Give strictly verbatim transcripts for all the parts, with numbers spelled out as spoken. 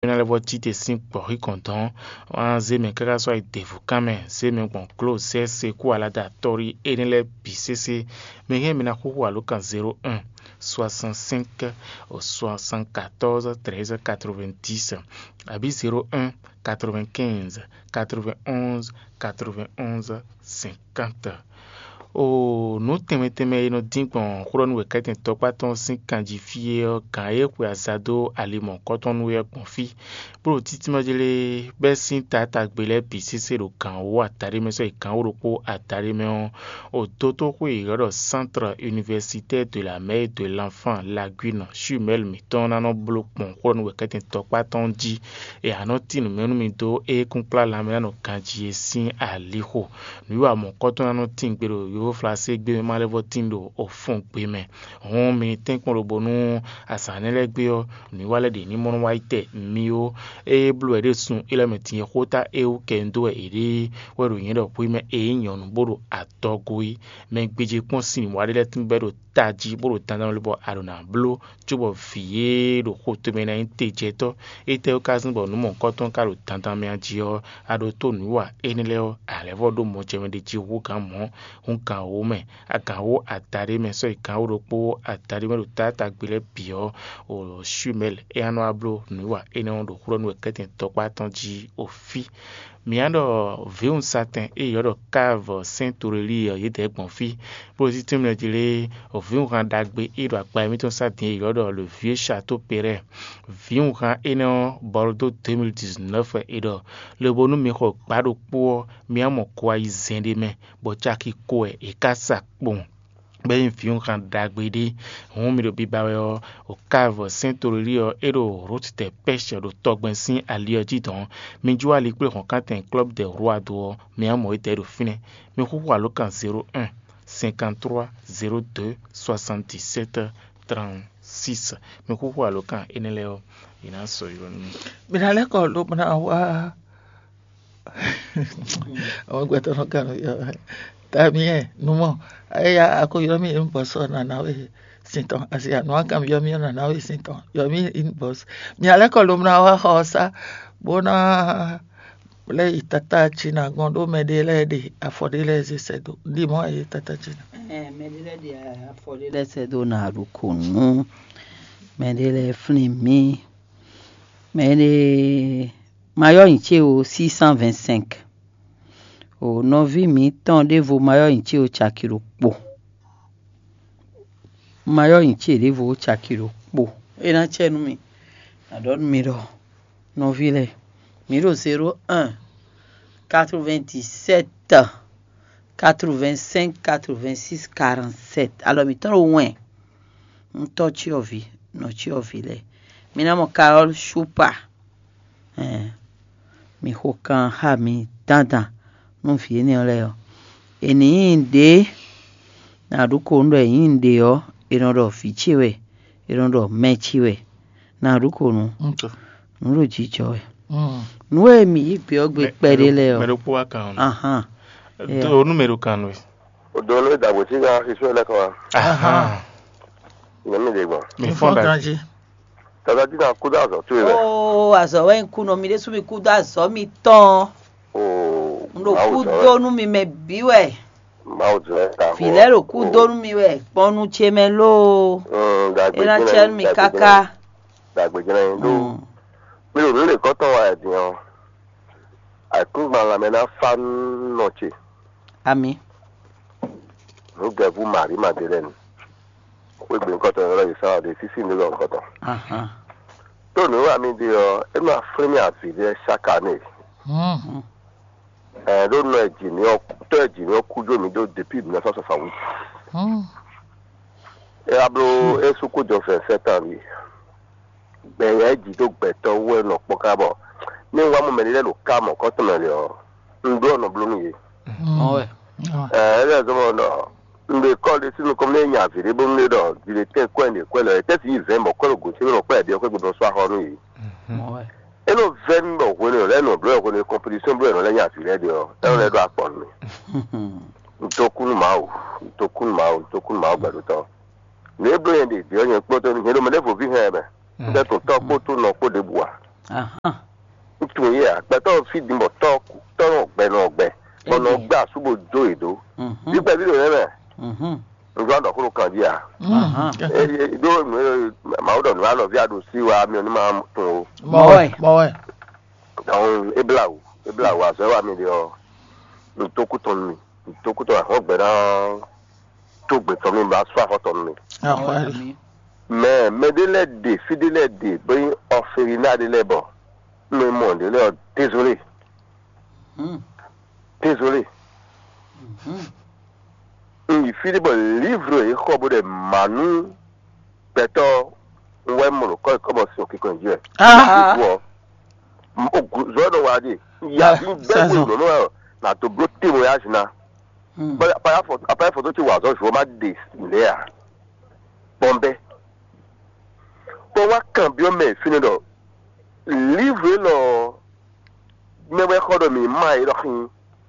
ná lɛ́ vɔ́ cí te sín gbɔ̌xíkɔn dɔn, wá zé mɛ káká sɔ́ yi devu kán mɛ, zé mɛ gbɔn glǒ zɛ́ sekú alada tɔ́rí énɛ́ lɛ́ɛ bǐ sésé. Mi hɛn mi ná xúxú alǒkan zéro un soixante-cinq soixante-quatorze treize quatre-vingt-dix, abǐ zéro un quatre-vingt-quinze quatre-vingt-onze quatre-vingt-onze cinquante. O nǔ tɛnmɛ tɛnmɛ e nɔ dín gbɔn xó ɖɔ nú wěkɛ́tɛn tɔkpá tɔn sín kan jí fí é ɔ́, gǎn e xwe aza dó ali mɔ̌hunkɔtɔn nú é ɔ́ gbɔn fí, bó ɖo títímɔ́ jí lé bɛ́ sín taátagbe lɛ́ɛ bǐ sésé ɖo gǎn wú adaɖé mɛ sɔ́ yi gǎn wú ɖokpó adaɖé mɛ ɔ́, o dótóxwé e è ylɔ́ ɖɔ Centre Universitaire de la Mère et de l'Enfant Lagune Jumelle mǐtɔn ná nɔ bló kpɔn xó ɖɔ nú wěkɛ́tɛn tɔkpá tɔn jí. E a nɔ tín nǔ mɛ nú mi dó é kúnkplá lanmɛ ná nɔ ganjí e sín alixo. Nǔwiwa mɔ̌hunkɔtɔn ná nɔ tín gbe ɖo yovóflaségbé mɛ ma lɛ́ vɔ́ tín ɖo ofɔ́ngbe mɛ. Hǔn mi ní tɛ́nkpɔ́n lobo nú azǎn énɛ́ lɛ́ɛ gbe ɔ́, nǔwiwa lɛ́ɛ ɖě ní mɔ nú wá yi tɛ mi ó. Ée bló wɛ ɖé sun é lɛ́ mɛ din e xóta é wú kɛ un dó wɛ è ɖe wɛ ɖo nyɛ ɖɔ hwi mɛ e nyí nyɔ̌nu bó ɖo adɔgo é. Mɛ gbéjé kpɔ́n sin wá ɖé lɛ́ɛ tún bɛ́ ɖo tají bó ɖo dandan wɛ bɔ a ɖo nǎ bló cóbɔ vǐ e ɖo xo tomɛ ná nyí tejɛtɔ́. Étɛ́ wú ka zɔ́n bɔ nǔ mɔ̌hunkɔtɔn ka ɖo dandan mɛ a jí ɔ́, a ɖo tó nǔwiwa énɛ́ lɛ́ɛ ɔ́, a lɛ́ vɔ ɖó mɔjɛmɛ ɖé jí hú gǎn mɔ̌, hú gǎn wó mɛ, agǎn wó adaɖé mɛ sɔ́ yi gǎn wó ɖokpó adaɖé mɛ ɖo taátagbe lɛ́ɛ bǐ ɔ́, o Shumɛl é ná nɔ wá bló nǔwiwa énɛ́ ɔ́ ɖo xwlɔ́ nú wɛ kɛ́tɛn tɔkpá tɔn jí o fí. Mǐ ná ɖɔ vǐwun satɛn e è ylɔ́ ɖɔ Káv Sɛ́n Torelíi ɔ́, yědɛɛ gbɔn fí, bó ɖo títúnmɛ jí lé vǐwunhan ɖagbe e ɖo akpa émítɔn sá din e è ylɔ́ ɖɔ le vieux château Perret. Vǐwunhan énɛ́ ɔ́, Bordeaux deux mille dix-neuf wɛ è ɖɔ, lobo nú mi xɔ gbǎ ɖokpó ɔ́, mi wá mɔ ko ayizɛ́n ɖé mɛ, bɔ caki ko wɛ è ká sa kpowun. Bɔ é nyí vǐwunhan ɖagbe ɖé. Hǔn mi ɖo biba wɛ ɔ́, Káv Sɛ́n Torelíi ɔ́, é ɖo Route des Pêches ɖo tɔgbɛn sín ali ɔ́ jí dɔ̌n. Mi jó ali kplé hɔ̌nkántɛn Club des Rois dó ɔ́, mi wá mɔ étɛ́ ɖo fínɛ́. Mi xúxú alǒkan zéro un cinquante-trois zéro deux soixante-dix-sept trente-six. Mi xúxú alǒkan énɛ́ lɛ́ɛ ɔ́, è nǎ sɔ́ ylɔ́ nú mi. Mi ná lɛ́ kɔ lobo ná wá. Àwọn gbɛtɔ́ nɔ kan nɔ yɔ. Tamiɛ numɔ, eya a ko ylɔ́ mì inbox ɔ́, nǎ ná we sin tɔn. Asi anu a kan ylɔ́ mì ɔ́, nǎ ná we sin tɔn. Ylɔ́ mì inbox. Mi alɛ́ kɔ lobo ná wá xɔ ɔ́ sá, bó ná lɛ́ yi tata Cina gɔ́n ɖó mɛ ɖé lɛ́ɛ ɖe afɔ ɖé lɛ́ɛ zé sɛ́ dó. Ɖi mɔ̌ e tata Cina. Ɛɛ, mɛ ɖé lɛ́ɛ ɖe afɔ ɖé lɛ́ɛ sɛ́ dó ná ɖo kò nú mɛ ɖé lɛ́ɛ flín mì. Mɛ ɖé mayɔ́ nyi ce o six cent vingt-cinq. O nɔví mǐtɔn ɖěvo mayɔ́ nyi ce o caki ɖokpo. Mayɔ́ nyi ce ɖěvo o caki ɖokpo. É ná cɛ nú mi. Nǎ ɖɔ nú mi ɖɔ nɔví lɛ́ɛ, mǐ ɖo zéro un quatre-vingt-dix-sept quatre-vingt-cinq quatre-vingt-six quarante-sept. Alɔ mǐtɔn ɖo wɛn. Un tɔ́ cyɔ́vǐ, nɔ cyɔ́vǐ lɛ́ɛ. Mi ná mɔ Carole Shupa. Ɛn, mi xo kan xá mi dandan nú vǐ énɛ́ ɔ́ lɛ́ɛ ɔ́. È nǐ nyi ɖě nǎ ɖu ko nú ɖɔ è nyǐ ɖě ɔ́, è nɔ ɖɔ vǐ ce wɛ, è nɔ ɖɔ mɛ ce wɛ. Nǎ ɖu ko nú nǔ ɖo jijɔ wɛ. Nǔ e mǐ yí gbe ɔ́ gbe kpɛɖé lɛ́ɛ ɔ́. Mɛ ɖokpó wá kan ɔ́. Ahán. Do nú mɛ ɖo kan nú we. O do nú dàgbò tí ká xixú ɛ lẹ́kọ̀ọ́ wa. Ahán. Nyɛ mi ɖe gbɔn. Mi fɔn da. Tata tí ká kú dó azɔ tó yẹ. Oo, azɔ wɛ ń kú nɔ mi ɖésú mi kú dó azɔ mi tɔn. Oo. N ɖo kú dó nú mi mɛ bí wɛ. Mawu zɔ ɛ ta. Vǐ lɛ́ɛ ɖo kú dó nú mi wɛ kpɔ́n nú ce mɛ lóo. Dàgbé é ná jẹ́ cɛ nú mi dàgbé káká. Dàgbé jẹ́ nú. Mi ɖo nú lè kɔ́tɔn wa ɛ din ɔ́. Àìkúngban lanmɛ ná fá nú nɔ ce. Ami. Nǔgɛvú Marí Madelɛ́ni. Xwé gbe nukɔntɔn yɔrɔ yi sá ɔ́ ɖe sísí ní lɔ nukɔntɔn. Tó nǔ wa mi ɖe ɔ́, é nɔ aflín mì avǐ ɖé chaque année. Ɛ ɖó nɔ ɛjǐní ɔ́ tɔ́ ɛjǐní ɔ́ kú jó mi ɖó depuis mille neuf cent soixante-huit. É wá bló é sú kú jɔ vingt-sept ans ɖi. Gbɛ̌yá e jǐ dó gbɛtɔ́ wú wɛ nɔ kpɔ́n ká bɔ ní un wá mɔ mɛɖé lɛ́ɛ ɖo ká mɔ̌kɔ́tɔn mɛ lě ɔ́, un ɖó ɔ́ nɔ bló nú yě. Ɔ́ wɛ. Ɛɛ é lɛ́ zɔ́n bɔ ɖɔ un ɖe kɔ́ ɖé sín nukɔn mɛ nya avǐ ɖé bónú ɖe ɖɔ vǐ ɖé tɛ́ kwɛ́ ɖě kwɛ́ lɔ é tɛ́ sí yi vɛ̌ɛn bɔ kwɛ́ ɖo gǒ ce bɔ kwɛ́ ɖě ɔ́ kwɛ́ gbe nɔ sú axɔ nú yě. É nɔ vɛ́ mì bɔ hwenu e lɛ́ɛ nɔ bló wɛ hwenu e kɔnpitisɔn bló wɛ nɔ lɛ́ nya avǐ lɛ́ɛ ɖe ɔ́, é nɔ lɛ́ ɖó akpɔ nú mì. Un dó kú nú Mawu, un dó kú nú Mawu, un dó kú nú Mawu gbɛɖótɔ́. Nǔ e bló nyɛ ɖe vǐ ɔ́ nyɛ kpódó nyɛ ɖo mɛ ɖěvo ví hɛn ɛ mɛ. Un ɖɛ tun tɔ́ kpó tún nɔ kpó ɖěbǔ ǎ. Ahán. Ŋutsu yɛ agbɛtɔ fí din bɔ tɔ tɔ nɔ gbɛ nɔ gbɛ bɔ nɔ Egbè. Gbɛ asú bo jó yě dó. Mhm. Bí gbɛví ɖo nɛnɛ Mhm. Ŋgblá ɖɔ xó ɖo kan jí a? Ahán. Eye ɖó nǔ e Mawu ɖɔ nǔ alɔví a ɖo sí wa mi ò ní ma tún o. Mɔwɛ. Mɔwɛ. Dɔn eblawu eblawu azɔ wa mi ɖe ɔ ntokutɔn mi ntokutɔn ahɔn gbɛ ná tó gbɛtɔ mi ba sɔ ahɔtɔ mi. Ahɔɛ. Mɛ mɛ ɖé lɛ ɖe fí ɖé lɛ ɖe bó nyí ɔfewiná ɖé lɛ bɔ mi mɔ ɖé lɛ ɔ désolé. Hmm. Désolé. Mhm. Un yi fí ɖé bɔ livre e xɔ bó ɖe mǎ nú gbɛtɔ́ un wɛ mɔ ɖo kɔ́ kɔ́ bɔ sin òkè kɔn jí wɛ. Ah. Vo ɔ zɔ ɖɔ wa ɖe ya Ah, bí bɛ́ sazɔ. Bó nɔ na to bló témoignage ná. Hmm. Bɔ apaya fɔtɔ apaya fɔtɔ ti wà zɔ zɔ ma ɖe lɛ a bɔn bɛ bɔ wa kan biɔ mɛ fínɛ ɖɔ livre lɔ mɛ wɛ xɔ ɖɔ mi ma yi ɖɔ xin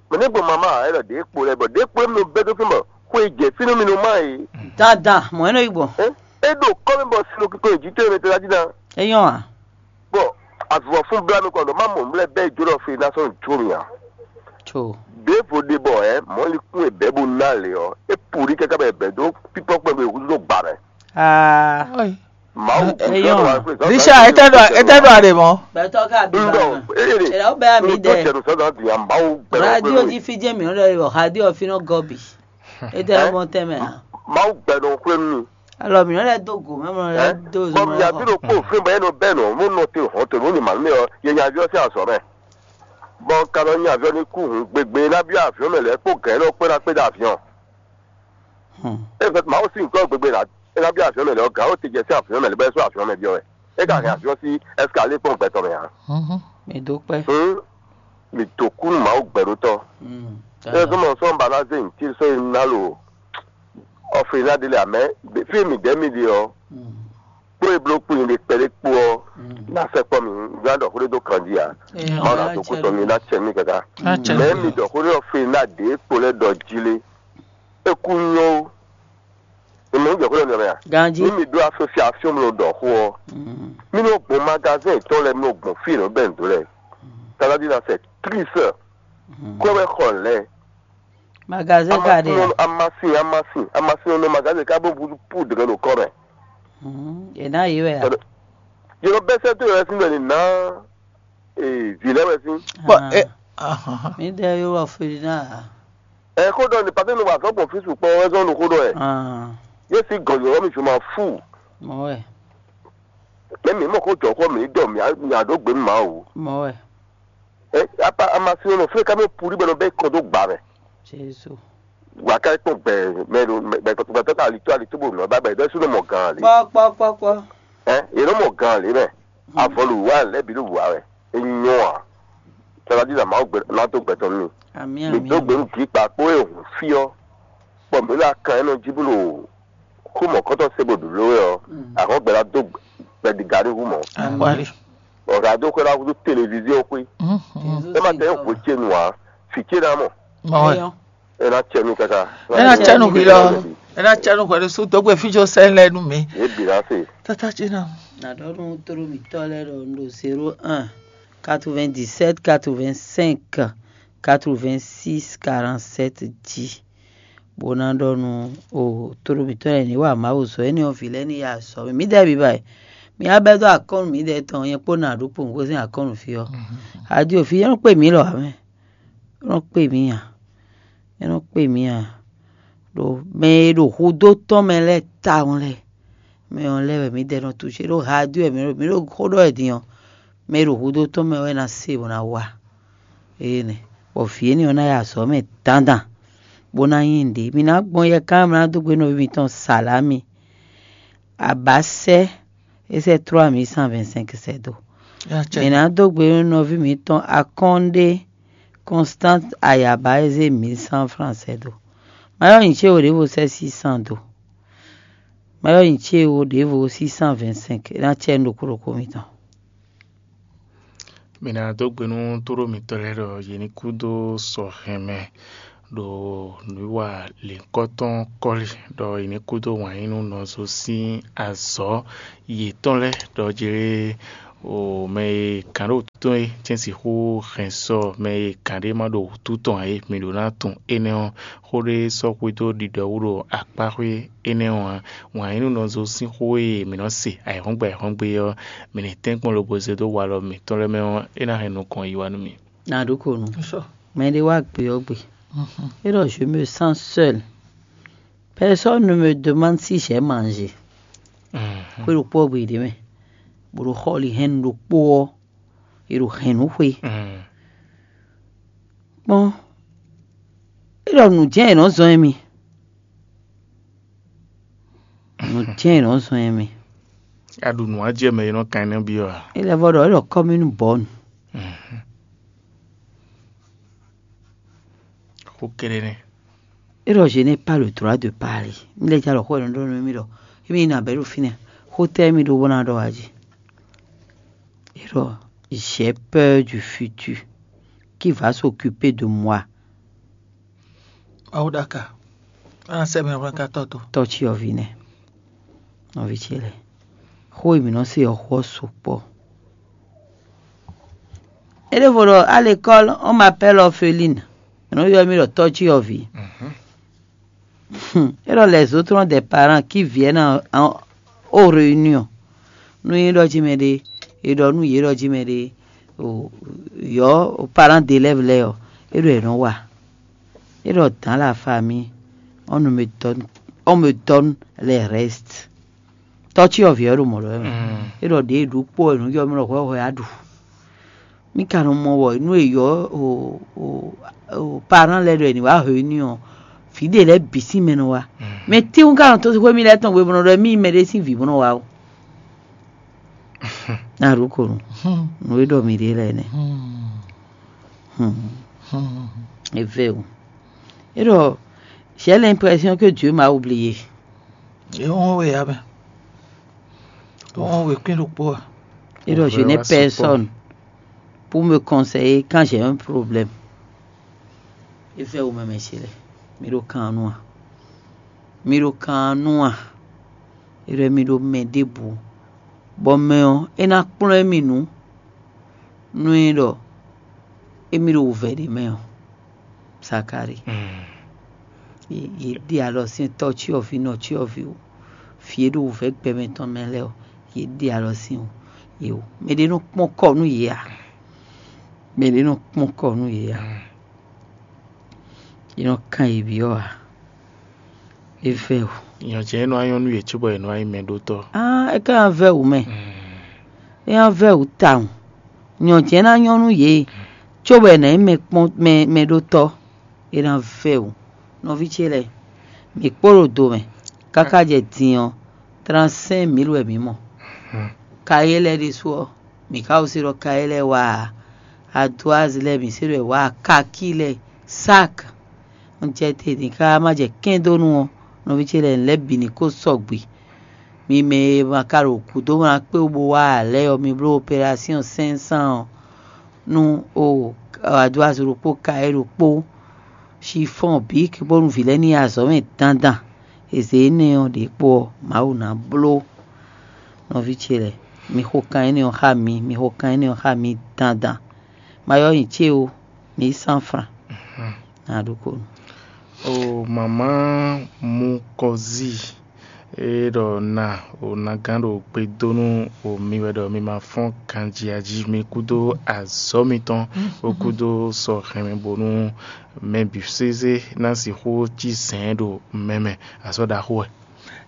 mɛ ne gbɔ mama ɛ ɖɔ ɖe kpo lɛ bɔ ɖe kpo mi bɛ do fín bɔ xwe jɛ fínú mi nɔ ma yi. Dandan mɔ ɛ nɔ yi gbɔn. E ɖo kɔ mi bɔ sinu kiko yi jitɔ mi tɛ la dina. Eyɔn a. Bɔ avɔ fún bla mi kɔn ɖɔ ma mɔ mi lɛ bɛ jo ɖɔ fe na sɔn jo mi a. Tso. Ɖevo ɖe bɔ ɛ mɔlikún e bɛ bo na le ɔ e puli kaka bɛ bɛ do pipɔ kpɛ bɛ hudu do gba mɛ. Aa. Mawu Eyɔn. Richard, etɛ ɖo etɛ ɖo aɖe mɔ. Gbɛtɔ ka bi ba Ŋdɔ, ma. Eye ɖe. Ela wo bɛ ami Ŋdɔ dɛ. Jɛnu sɔdɔ di a Mawu gbɛ. Radio di fi jɛ mi lɔ yɔ radio fi nɔ gɔbi. Etɛ mɔ tɛmɛ a. Mawu gbɛ nɔ xwle mi. Alɔ mi lɛ do go mɛ mɔ lɛ do Bɔn zɔn mi abi lɔ. Ɖo kpó fún bɔ yẹn nɔ bɛ nɔ mo nɔ te hɔn to mo ni ma mi ɔ yẹ nya aviɔ sí azɔ mɛ. Bɔn ka nɔ nya aviɔ ni kú hun gbegbe na bi aviɔ mɛ lɛ kpó gɛ nɔ kpé na kpé da aviɔ. Hmm. E fɛ Mawu sín nǔkɔ gbegbe la é ná byɔ́ aviɔn mɛ lɛ́ɛ ɔ́ gǎn ó te jɛ sín aviɔn mɛ lɛ́ɛ bɔ é sú aviɔn mɛ byɔ́ wɛ. É ka hɛn aviɔn sí ɛskalé kpɔ́n gbɛtɔ́ mɛ ǎ. Mhm. Mi dó kpɛ́. Hǔn mǐ dó kú nú Mawu gbɛɖótɔ́. Mm, É zɔ́n mɔ sɔ́ un ba ná zé nyǐtín sɔ́ yi ná lo ɔflina ɖé lɛ amɛ fí e mǐ ɖɛ̌ mi ɖe ɔ́, mm, kpó e bló kpó nyi ɖe kpɛɖé kpó ɔ́, mm, ná sɛkpɔ́ mì, un ná ɖɔ xó ɖé dó kan jí ǎ. Mawu ná dó kú tɔn mì, ná cɛ mì káká. Mɛ̌ mi ɖɔ xó ɖé ɔ́ fwe ná ɖě kpo lɛ́ɛ ɖɔ jí lé. É kú nyɔ́ ó. Mɛ mi jɛ xó lɛ́ɛ nɔ mɛ a? Ganjí. Ní mi ɖó asosiasiɔn mi nɔ ɖɔ xó ɔ́, mm, mi nɔ gbɔn magazɛn tɔn lɛ́ɛ, mi nɔ gbɔn fí e nɔ bɛn dó lɛ́ɛ. Tada dina sɛ trisɛ. Kó wɛ xɔ lɛ. Magazɛn ka ɖe a? Amasin, amasin, amasin nɔ magazɛn ká bó budu pu dɛgɛ ɖo kɔ mɛ. Mm, e ná yi wɛ a? Yɔrɔ bɛsɛ tó yɛ sin bɛ ni ná vǐ lɛ́ɛ wɛ sín. Bɔ Ah. e ahan. Mi ɖe yó wɔ fili ná a? Ɛ xó ɖɔ ni pàtó ni wà zɔ́ gbɔn fí sukpɔ́ wɛ zɔ́n nu xó ɖɔ ɛ. Ah. Yé sí gɔ̀nyɔ̀wọ́ mi zùn ma fú. Mɔ wɛ. Mɛ mi mɔ xó jɔ xó mi dɔ mi mi ado gbé mi ma o. Mɔ wɛ. Ɛ apa amasin nɔ fúnɛ ká mi puli bɛ nɔ bɛ kɔ dó gba mɛ. Jesu. Wà ká kpɔn gbɛ mɛ ɖo gbɛtɔ ká ali tó ali tó bò nɔ ba gbɛ dɔ ɛsú nɔ mɔ gan ali. Kpɔ kpɔ kpɔ kpɔ. Ɛ yé nɔ mɔ gan ali mɛ. Avɔlu wa lɛ bi ɖo wa wɛ. Enyɔ a. Tɔlɔdi na Mawu gbɛ na to gbɛtɔ mi. Ami mi ami do ami. Gbenu gli kpa kpo e hun fi ɔ. Kpɔ mi la kan enɔ dzi blo. Xó mɔ̌kɔtɔn se bó ɖu ló wɛ ɔ, ahɔn gbɛ ná dó gbɛdígá ní hu mɔ̌. Akwali. Ɔ̀gá dó xwé ná húzú télévizió xwé. É má tɛ é hwě ce nu ǎ, fǐ ce ná mɔ. Mɔwɛ. É ná cɛ nú káká. É ná cɛ nú hwi lɔ. É ná cɛ nú hwɛ ɖésú dó gbé fíjó sɛn lɛ nú mi. Yě bǐ ná se. Tata ce ná. Na ɖɔ nú tló mǐtɔn lɛ́ɛ ɖɔ un ɖo zéro un quatre-vingt-dix-sept quatre-vingt-cinq quatre-vingt-six quarante-sept jí. Bó ná ɖɔ nú o tló mǐtɔn lɛ́ɛ ní wa Mawu zɔ énɛ́ ɔ́ vǐ lɛ́ɛ ní ya azɔ̌ mɛ. Mǐdɛɛ bǐ ba e mǐ wá bɛ́ dó akɔ́nnu mǐdɛɛ tɔn nyɛ kpó nǎ ɖó kpo nǔgbó sín akɔ́nnu fí ɔ́. Adio fí é nɔ kpé mǐ lɔ ǎ mɛ. É nɔ kpé mǐ ǎ. É nɔ kpé mǐ ǎ. Ɖo mɛ e ɖo hudó tɔn mɛ lɛ́ɛ tawun lɛ́ɛ mɛ ɔ́ lɛ́ɛ wɛ mǐdɛɛ nɔ tuṣe ɖó adio wɛ mǐ ɖo mǐ ɖo xó ɖɔ wɛ din ɔ́. Mɛ e ɖo hudó tɔn mɛ wɛ ná se bó ná wa. Énɛ́ bɔ vǐ énɛ́ ɔ́ ná yi azɔ̌ mɛ dandan, bó ná nyí nǔɖé. Mi ná gbɔn yɛkán, mi ná dó gbe nɔví mitɔn Salami. Abasɛ, é sɛ trois mille cent vingt-cinq sɛ dó. Mi ná dó gbe nɔví mitɔn Akɔ́nɖé Constante Ayaba, é zé mille cent francs sɛ dó. Má yɔ nyi cé wo ɖěvo sɛ six cents dó. Má yɔ nyi cé wo ɖěvo six cent vingt-cinq, é ná cɛ nú ɖokpó ɖokpó mitɔn. Mi ná dó gbe nú tóɖó mitɔn lɛ́ɛ ɖɔ yě ní kú dó sɔ hɛn mɛ, ɖo nǔwiwa lěhunkɔtɔn kɔ́li, ɖɔ yě ní kú dó wǎn yí nú nɔzo sín azɔ̌ yětɔn lɛ́ɛ, ɖɔ jlé O mɛ e gǎn ɖo wútu tɔn é, cɛ́n sixú hɛn sɔ mɛ e gǎn ɖé ma ɖo wútu tɔn ǎ é, mi ɖǒ ná tunwun énɛ́ ɔ́. Xó ɖé sɔ́ xwedó ɖiɖɔ wú ɖo akpáxwé énɛ́ ɔ́ ǎ. Wǎn yí nú nɔzo sín xó e mǐ nɔ se ayǐhɔ́ngbe ayǐhɔ́ngbe ɔ́, mǐ ní tɛ́nkpɔ́n lobo zé dó walɔ mǐtɔn lɛ́ɛ mɛ ɔ́, é ná hɛn nukɔn yi wá nú mì. Nǎ ɖó ko nú. Mɛ ɖé wá gbe ɔ́ gbe. É ɖɔ je me sens seul. Personne ne me demande si j'ai mangé. Xwé ɖokpó ɔ́ gbe ɖě mɛ, bó ɖo xɔlihɛ́nnu ɖokpó ɔ́, è ɖo hɛn nǔ xwe. Kpɔ́n, é ɖɔ nǔ jɛ́n è nɔ́ zɔ́n émí. Nǔ jɛ́n è nɔ́ zɔ́n émí. A ɖu nǔ a jɛ mɛ e nɔ kan nɛ́ byɔ́ a? É lɛ́ vɔ ɖɔ é ɖɔ commune bɔ̌nu. Xó kéré nɛ́. É ɖɔ je n'ai pas le droit de parler. Mi lɛ́ jalɔ xó ɛnɛ ɖɔ nú mì ɖɔ émi nɔ abɛ ɖo fínɛ́. Xó tɛ́ émi ɖó bó ná ɖɔ wá jí. É ɖɔ j'ai peur du futur. Qui va s'occuper de moi? Mawu ɖaka. Ana sɛ mɛ hwlɛ́n ka tɔ́ tó. Tɔ́ cyɔ́ví nɛ́. Nɔví ce lɛ́ɛ. Xó e mǐ nɔ se ɔ́ xó ɔ́ sukpɔ́. É ɖěvo ɖɔ à l'école on m'appelle orpheline. È nɔ ylɔ́ mì ɖɔ tɔ́ cyɔ́ví. É ɖɔ les autres ont des parents qui viennent en, en, aux réunions. Nú é ɖɔ jí mɛ ɖé, é ɖɔ nú yě ɖɔ jí mɛ ɖé, o yɔ̌ parents d'élèves lɛ́ɛ ɔ́, é ɖɔ è nɔ wa. É ɖɔ dans la famille, on ne me donne, on me donne les restes. Tɔ́ cyɔ́ví ɔ́ ɖo mɔ̌ ɖɔ wɛ mɛ. É ɖɔ ɖě e ɖu kpó wɛ nǔ yɔ mì ɖɔ hwɛhwɛ á ɖu. Mí ka nɔ mɔ wɔ nú è yɔ parán lɛ́ɛ ɖɔ è nǐ wá hwenu ɔ́, vǐ ɖe lɛ́ɛ bǐ sín mɛ nɔ wá. Mɛ tɛ́nwú ka nɔ tó xwé mì lɛ́ɛ tɔn hwebɔnɔ ɖɔ mì mɛ ɖé sín vǐ bó nɔ wá ó. Nǎ ɖu ko nú nǔ e ɖɔ mǐ ɖe lɛ́ɛ nɛ́. É vɛ́ o. É ɖɔ j'ai l'impression que Dieu m'a oublié. É wɔn we ya mɛ. É wɔn we kwín ɖokpó a. É ɖɔ je n'ai personne pour me conseiller quand j'ai un problème. É vɛ́ o mɛ mɛ ce lɛ́ɛ. Mi ɖo kan nú a? Mi ɖo kan nú a? É ɖɔ mi ɖo mɛ ɖěbǔ, bɔ mɛ ɔ́ é ná kplɔ́n émí nǔ. Nú é ɖɔ émí ɖo wǔvɛ́ ɖé mɛ ɔ́, Zakalíi. Yě ɖe alɔ sín tɔ́ cyɔ́ví nɔ cyɔ́ví o. Vǐ e ɖo wǔvɛ́ gbɛmɛ tɔn mɛ lɛ́ɛ ɔ́, yě ɖe alɔ sín o. Yě o. Mɛ ɖé nɔ kpɔ́n kɔ nú yě ǎ. Mɛ ɖé nɔ kpɔ́n kɔ nú yě ǎ. Yě nɔ kan yě byɔ́ ǎ. É vɛ́ o. Nyɔ̌ ce é nɔ wá nyɔ́ nú yě cóbɔ yě nɔ wá nyí mɛɖótɔ́. Á, é ka ná vɛ́ wǔ mɛ. É ná vɛ́ wǔ tawun. Nyɔ̌ ce ná nyɔ́ nú yě cóbɔ è nǎ nyí mɛ kpɔ́n mɛ mɛɖótɔ́. É ná vɛ́ wǔ. Nɔví ce lɛ́ɛ, mǐ kpo ɖo do mɛ káká jɛ din ɔ́, trente-cinq mille wɛ mǐ mɔ. Kayé lɛ́ɛ ɖésú ɔ́, mǐ ka ko se ɖɔ kayé lɛ́ɛ wá ǎ. Adoazi lɛ́ɛ mǐ se ɖɔ è wá ǎ, kakí lɛ́ɛ, sak. Un jɛ te din káká má jɛ kɛ́ndónú ɔ́, nɔví ce lɛ́ɛ lɛ̌ bǐ ní ko sɔgbe. Mi mɛ e ma ka ɖo gǔdo ma kpé wú bó wá ǎ lɛ́ɛ ɔ́, mi bló operásyɔn cinq cents ɔ́ nú o adoazi ɖokpó kayé ɖokpó. Chiffon bǐ bónú vǐ lɛ́ɛ ní yi azɔ̌ mɛ dandan. È zě énɛ́ ɔ́ ɖě kpo ɔ́, Mawu ná bló. Nɔví ce lɛ́ɛ, mi xo kan énɛ́ ɔ́ xá mi, mi xo kan énɛ́ ɔ́ xá mi dandan. Ma ylɔ́ nyi ce ó, mi yí cent francs. Nǎ ɖokpónɔ. O mama Mukɔzi, é ɖɔ na o nagán ɖo gbe dó nú o mi wɛ ɖɔ mi ma fɔ́n ganjí jí mi kúdó azɔ̌ mitɔn, o kúdó sɔ hɛn mi bónú mɛ bǐ sésé ná sixú cí zɛ̌n ɖo mɛ mɛ. Azɔ̌ ɖaxó wɛ.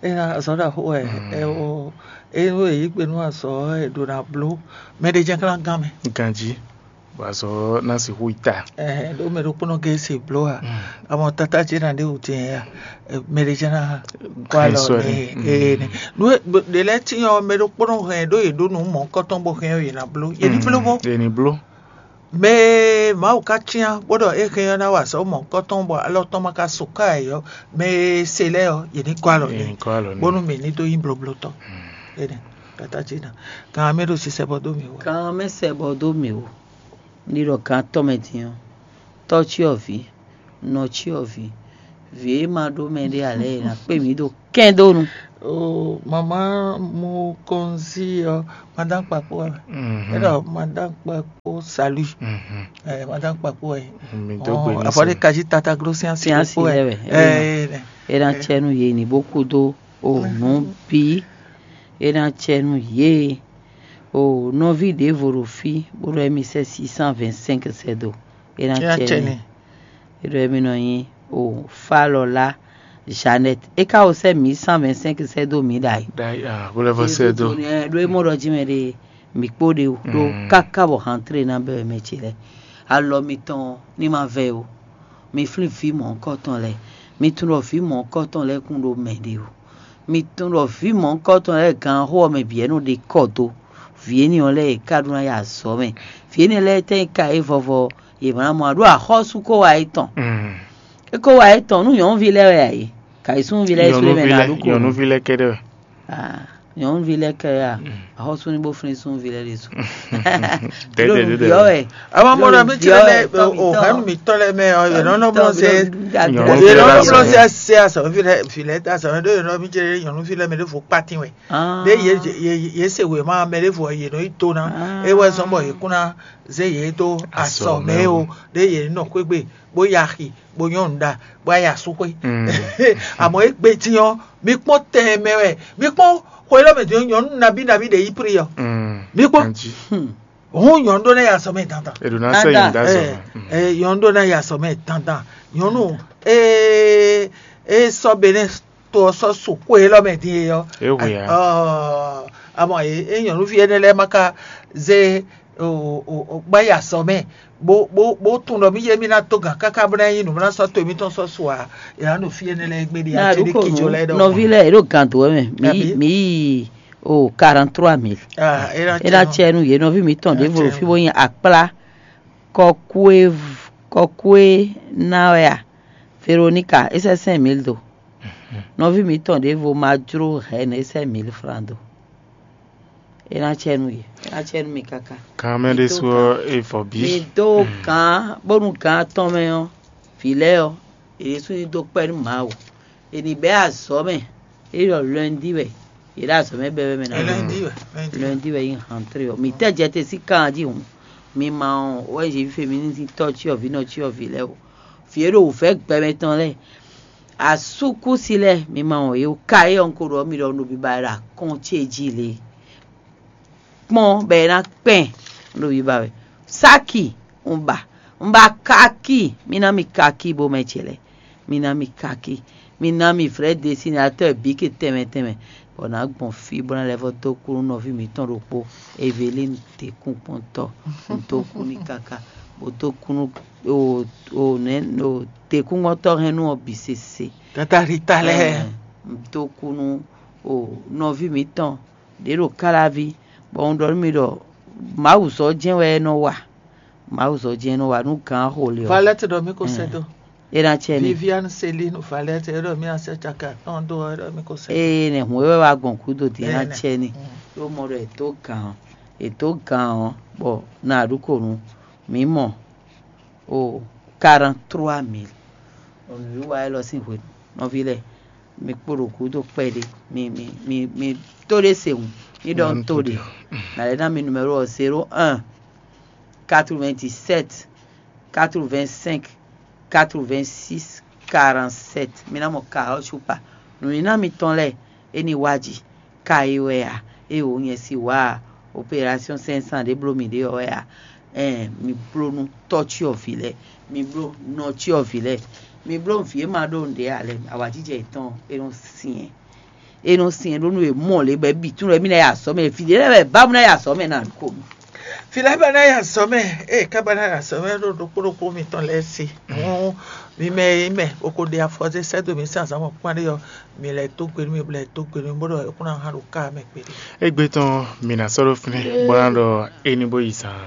Ena azɔ̌ ɖaxó wɛ. Ɛ o, enu e yǐ gbe nú azɔ̌ e ɖo ná bló mɛ ɖé jɛ́n klán gán mɛ. Ganjí, bɔ azɔ̌ ná sixú yi ta. Ɛhɛn, ɖó mɛ ɖokpónɔ gé se bló a? Amɔ tata ce ná ɖe wǔ jɛ ya. Mɛ ɖé jɛ́n ná kó alɔ nɛ. Ee nɛ. Nú ɖe lɛ́ɛ tín ɔ́, mɛ ɖokpónɔ hɛn ɖó yě ɖó nǔ mɔ̌kɔtɔn bó hɛn ɔ́, yě ná bló. Yě ní bló bó. Yě ní bló. Mɛ e Mawu ka cyán bó ɖɔ é hɛn ɔ́ ná wa azɔ̌ mɔ̌hunkɔtɔn bɔ alɔ tɔn ma ka su ká ɛ ɔ́, mɛ e se lɛ́ɛ ɔ́, yě ní gɔ́ alɔ n'i, bónú mǐ ní dó nyí bloblotɔ́. Énɛ́, tata ce ná. Kan mɛ ɖo sisɛ bɔ dó mǐ wú. Kan mɛ sɛ bɔ dó mǐ wú. Ní ɖɔ kan tɔ́ mɛ din ɔ́, tɔ́ cyɔ́vǐ, nɔ cyɔ́vǐ, vǐ e ma ɖó mɛ ɖé ǎ lɛ́ɛ è nǎ kpé mǐ ɖo kɛ́ndónu. O, mamá Mukonzi ɔ, madame Kpakpo wɛ. É ɖɔ madame Kpakpo salut. Ɛ, madame Kpakpo wɛ. Mi dó gbe ní afɔ ɖe kají tata glo sian si Sian si kpó wɛ. Lɛ wɛ. Ɛ, É ná cɛ nú yě ní bó kú dó o nǔ bí. É ná cɛ nú yě o nɔví ɖěvo ɖo fí bó ɖɔ émí sɛ́ six cent vingt-cinq sɛ́ dó. É ná É ná cɛ cɛ n'i. N'i. É ɖɔ émí nɔ nyí o Falɔlá Jeannette. É ka wo sɛ́ mille cent vingt-cinq sɛ́ dó mǐ ɖ'ayǐ. Ɖ'ayǐ, ah, bó lɛ́ vɔ sɛ́ dó. Ɖo é mɔ ɖɔ jí mɛ ɖe mǐ kpó ɖe o ɖó káká bɔ hantré ná bɛ́ wɛ mɛ ce lɛ́ɛ. Alɔ mitɔn ní ma vɛ́ o. Mi flín vǐ mɔ̌hunkɔtɔn lɛ́ɛ. Mi tunwun ɖɔ vǐ mɔ̌hunkɔtɔn lɛ́ɛ kún ɖo mɛ ɖe o. Mi tunwun ɖɔ vǐ mɔ̌hunkɔtɔn lɛ́ɛ gǎn xó ɔ́ mɛ bǐ wɛ nɔ ɖe kɔ dó. Vǐ énɛ́ ɔ́ lɛ́ɛ è ká ɖó ná yi azɔ̌ mɛ. Vǐ énɛ́ lɛ́ɛ tɛ́ nyí ka é vɔvɔ yě ma ná mɔ ǎ ɖó axɔ́sú kó wa é tɔn. É kó wa é tɔn nú nyɔ̌nuví lɛ́ɛ wɛ ǎ é. Kayǐsúnúví lɛ́ɛ é sú ɖé mɛ ná ɖó kó. Nyɔ̌nuví lɛ́ɛ kɛ́ɖɛ́ wɛ. Ah, nyɔ̌nuví lɛ́ɛ kɛ ya axɔ́sú ní bó flín súnví lɛ́ɛ ɖésú. Dɛdɛ, dɛdɛ. Ɖó nǔbyɔ́ wɛ. Àwọn ọmọ Ɖó náà mi ti nǔbyɔ́ lẹ wɛ, tɔmítɔn. O hanu mi tɔn lɛ mɛ, ọ, yɛ nɔ nɔ blɔ sɛ. Nyɔ̌nuví lɛ́ɛ lásán. Blɔ sɛ sɛ asɔ fi lɛ fi lɛ ta sɔ ɖó yɛ nɔ mi jẹ nyɔ̌nuví lɛ mɛ ɖó fo kpatin wɛ. Ah. Ɖé yé yé yé se wema mɛ ɖé fo yé nɔ yi to ná. Ah. É wɛ zɔn bɔ yé kún ná zé yé dó asɔ mɛ o. Ɖé yé nɔ xwégbe bó ya xi bó nyɔ́ nǔ ɖa bó wá yi asúxwé. Àmọ́ égbé dín ɔ́, mi kpɔ́n tɛn mɛ wɛ, mi kpɔ́n xwe lɔ mɛ dín nyɔ̌nu nabí nabí ɖe yí pri ɔ́. Mi kpɔ́n. Hǔn nyɔ̌nu ɖó ná yi asɔ mɛ dandan. È ɖo ná sɛ nyi dá sɔ. Ɛ, nyɔ̌nu ɖó ná yi asɔ mɛ dandan. Nyɔ̌nu e e sɔ Benɛ to ɔ́ sɔ́ su xwe élɔ́ mɛ din e ɔ́. É hwe ǎ. Ɔɔ, amɔ e e nyɔ̌nuví énɛ́ lɛ́ɛ ma ka zé o o o gbá yi asɔ mɛ bó bó bó tunwun ɖɔ mí yé mí ná dó gǎn káká bó ná nyí nǔ bó ná sɔ́ to émítɔn sɔ́ su ǎ. È nǎ ɖo fí énɛ́ lɛ́ɛ gbé ɖi Ná ati ɖi ɖokpó kíjɔ lɛ́ɛ ɖɔhun. Nɔví lɛ́ɛ è ɖo gǎn dó wɛ mɛ. Mǐ Àbí? Mǐ yi o quarante-trois mille. Ah, é ná É ná cɛ nú. Cɛ nú yě nɔví mǐtɔn É ná ɖěvo cɛ ɖo fí nú. Bó nyi akplá kɔkúé kɔkúé ná wɛ a? Veronika, é sɛ́ cinq mille dó. Nɔví mǐtɔn ɖěvo ma jló hɛ̌nnu, é sɛ́ mille francs dó. É ná cɛ nú yě, é ná cɛ nú mi káká. Kan mɛ ɖésú ɔ́, é vɔ bǐ. Mi dó gǎn, bónú gǎn atɔn mɛ ɔ́, vǐ lɛ́ɛ ɔ́, yě ɖésú ní dó kpɛ́ nú Mawu. È nǐ bɛ́ azɔ̌ mɛ, é ɖɔ lundi wɛ, yě ɖo azɔ̌ mɛ bɛ́ wɛ mɛ ná. Lundi wɛ, lundi wɛ. Lundi wɛ nyí hantré ɔ́. Mǐ tɛ́ jɛ te sín kan jí hǔn, mi ma ɔ́, wɛ zǐ féminisitɔ́ cyɔ́vǐ nɔ cyɔ́vǐ lɛ́ɛ o. Vǐ e ɖo wǔvɛ́ gbɛmɛ tɔn lɛ́ɛ, asúkúsi lɛ́ɛ, mi ma wɔn yě o. Ka é ɔ́, un ko ɖɔ mi ɖɔ un ɖo biba wɛ ɖo akɔ́n ce jí lě. Kpɔ́n bɔ é ná kpɛn un ɖo biba wɛ. Sáki un ba, un ba káki, mi ná mi káki bó mɛ ce lɛ́ɛ. Mi ná mi káki, mi ná mi vrɛ́ desinéatɔ́ bǐ ke tɛnmɛ tɛnmɛ, bɔ nǎ gbɔn fí bó ná lɛ́ vɔ́ dó kú nú nɔví mǐtɔn ɖokpó Evelín, tekúnkpɔ́ntɔ́. Un dó kú n'i káká, bó dó kú nú o o nɛ̌ o tekúnkpɔ́ntɔ́ hɛn nú ɔ́ bǐ sese. Tata Rita lɛ́ɛ. Ɛɛ, un dó kú nú o nɔví mǐtɔn ɖě ɖo Káláví, bɔ un ɖɔ nú mi ɖɔ Mawu zɔ jɛ́n wɛ é nɔ wa. Mawu zɔ jɛ́n é nɔ wa nú gǎn xo lě ɔ́. Valette ɖɔ mí ko sɛ́ dó. É ná cɛ ní. Viviane Céline Valette é ɖɔ mí ná sɛ́ caka tɔn dó é ɖɔ mí ko sɛ́ dó. Ée nɛ hǔn é wɛ wá gbɔn gúdo din é ná cɛ ní. Ɖó mɔ ɖɔ è dó gǎn ɔ́, è dó gǎn ɔ́, bɔ nǎ ɖu kò nu mǐ mɔ o quarante-trois mille. Nǔwiwa élɔ́ sín hwenu, nɔví lɛ́ɛ, mi kpo ɖo gǔdo kpɛɖé, mi mi mi mi tó ɖé se hǔn, mi ɖɔ un tó ɖe. Nǎ lɛ́ ná mi numéro ɔ́: zéro un, quatre-vingt-dix-sept, quatre-vingt-cinq, quatre-vingt-six, quarante-sept. Mi ná mɔ ka ɔ́ cupa. Nǔníná mitɔn lɛ́ɛ, é ní wá jǐ. Ka e wɛ a? Ée wǒ nyɛ si wǎ a? Opération cinq cent ɖé bló mǐ ɖe ɔ́ wɛ a? Ɛɛn, mi bló nú tɔ́ cyɔ́vǐ lɛ́ɛ, mi bló nɔ cyɔ́vǐ lɛ́ɛ, mi bló vǐ e ma ɖó nǔɖé ǎ lɛ́ɛ, awǎjijɛ yětɔn é nɔ syɛn. É nɔ syɛn ɖó nú è mɔ lě bɔ é bǐ tún lɔ émí ná yi azɔ̌ mɛ, vǐ ɖé lɛ́ɛ wɛ bá mú ná yi azɔ̌ mɛ ná ko mì. Vǐ lɛ́ɛ ba ná yi azɔ̌ mɛ, ée ká ba ná yi azɔ̌ mɛ ɖo ɖokpó ɖokpó mitɔn lɛ́ɛ se. Hǔn mi mɛ e mɛ o ko ɖe afɔ zé sɛ́ dó mǐ sín azǎn mɔ̌kpán ɖé ɔ́, mi lɛ́ dó gbe nú mì, bɔ lɛ́ dó gbe nú mì, bó ɖɔ é kún ná hán ɖo ká mɛ kpéɖé. Égbé tɔn mǐ ná sɔ́ ɖó fínɛ́ bó ná ɖɔ é ní bó yi zaan.